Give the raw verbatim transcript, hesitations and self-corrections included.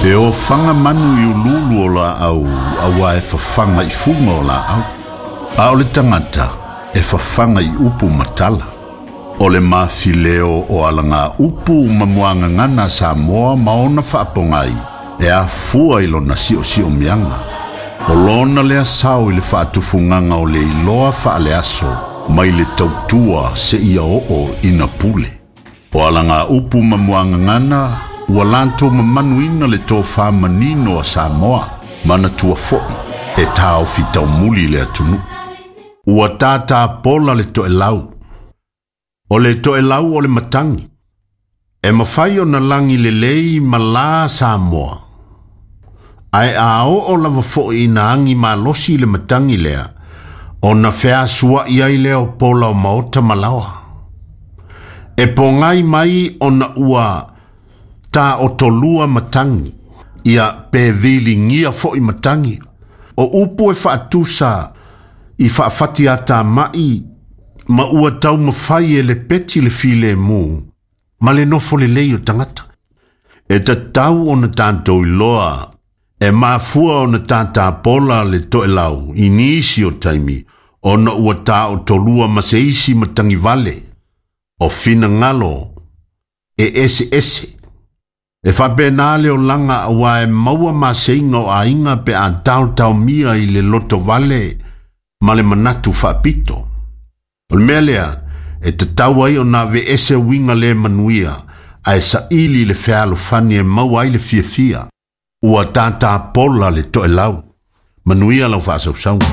E ofaga manu i ululu o laau auā e fafaga i fuga o laau. A o le tagata e fafaga i upu ma tala. O le mafileo o alaga upu ma muagagana a Samoa ma ona faapogai e afua i lona siosiomiaga. O lona lea sao i le faatufugaga o le iloa faaleaso mai le tautua seia oo ina pule. O alaga upu ma muagagana ua latou mamanuina le tofā manino a Samoa manatua fo'i e taofi taumuli le atunuu. Ua tātā pola le toelau. O le toelau o le matagi. E mafai ona lagi lelei ma la Samoa. Ae a oo lava fo'i ina agi malosi le matagi lea, ona feasua'i ai lea o pola o maota ma laoa. E pogai mai ona ua taotolua matagi, ia pe viligia fo'i matagi. O upu e faatusa i faafatiatamai ma ua taumafai e lepeti le filemu ma le nofo lelei o tagata. E tatau ona tatou iloa e mafua ona tatapola le toelau i nisi o taimi ona ua taotolua ma se isi matagivale o finagalo e eseese. E faapena le olaga auā e maua maseiga o aiga pe a taotaomia i le lotovale ma le manatu faapito. O le mea lea e tatau ai ona aveese uiga le manuia ae saili le fealofani e maua ai le fiafia. Ua tatapola le toelau. Manuia lau faasausauga.